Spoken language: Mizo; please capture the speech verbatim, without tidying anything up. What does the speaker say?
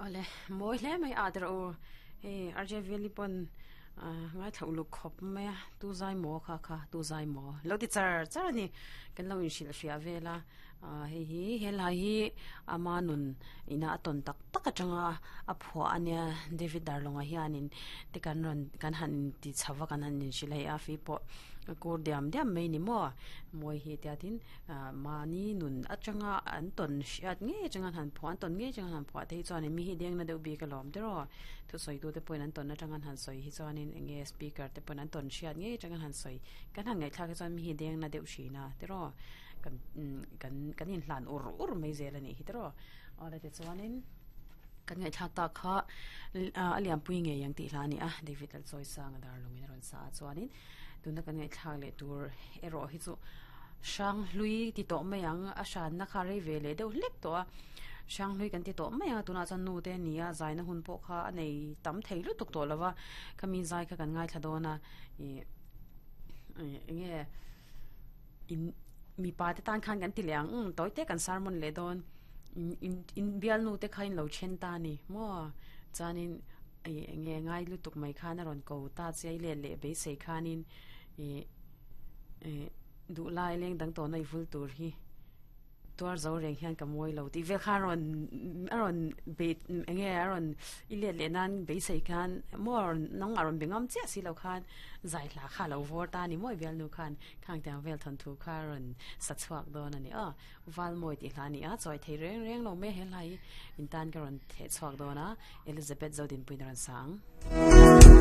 Ole mawi hle mai a tero u hei R J Veli pawn ngai thla uluk khawp mai a tu zai maw kha kha tu zai maw lo ti char char a ni kan lo inhrilh hriah vel a hei hi helai hi ama nun ina a tawn tak tak atanga a phuah a nia David Darlawnga hianin te kan rawn kan han ti chho va kan han inhrilh hei a fi pawh kur diam diam mai ni maw mawi hi tia tin mahni nun atanga an tawn hriat ngei atanga an han phuah an tawn ngei atanga an han phuah te hi chuanin mi hi dengna deuh bik alawm te rawh thusawi tu te pawhin an tawn atanga an han sawi hi chuanin eng nge speaker te pawhin an tawn hriat ngei atanga an han sawi kan han ngaihthlak hi chuan mi hi dengna deuh hrin a te rawh kan kan kan inhlan ur ur mai zel a nih hi te rawh awle tichuanin kan ngaihthlak tak kha a lianpui ngei ang tih hla a ni a David Lalchawisanga darlawngin a rawn sa a chuanin tuna kan ngaihthlak leh tur erawh hi chu Hranghlui ti tawh mai ang a hranna kha rei ve leh deuh hlek tawh a Hranghlui kan ti tawh mai ang a tunah chuan nu te a ni a zaina hun pawh kha a nei tam thei lutuk tawh lo va khami zai kha kan ngaithla dawn a ih eng nge in mipa te tan khan kan ti leh ang umm tawi te kan sermon leh dawn in in bialnu te kha in lo then ta a ni maw chuanin ih eng nge ngai lutuk mai khan a rawn ko ta che a i let leh beisei khanin ih ih duh lai leng dang tawhna i vul tur hi tuar zo reng hian ka mawi lo tih vel kha a rawn a rawn bei eng nge a rawn i let leh nan beisei khan maw a rawn nangmah a rawn be ngam chiah si lo khan zai hla kha a lo vawr ta a ni mawi bialnu khan khang tiang vel thawnthu kha a rawn sa chhuak dawn a ni aw Valmawi tih hla a ni a chawi thei reng reng lo mai he hla hi in tan ka rawn theh chhuak dawn a Elizabeth Zodinpuiin a rawn sa ang.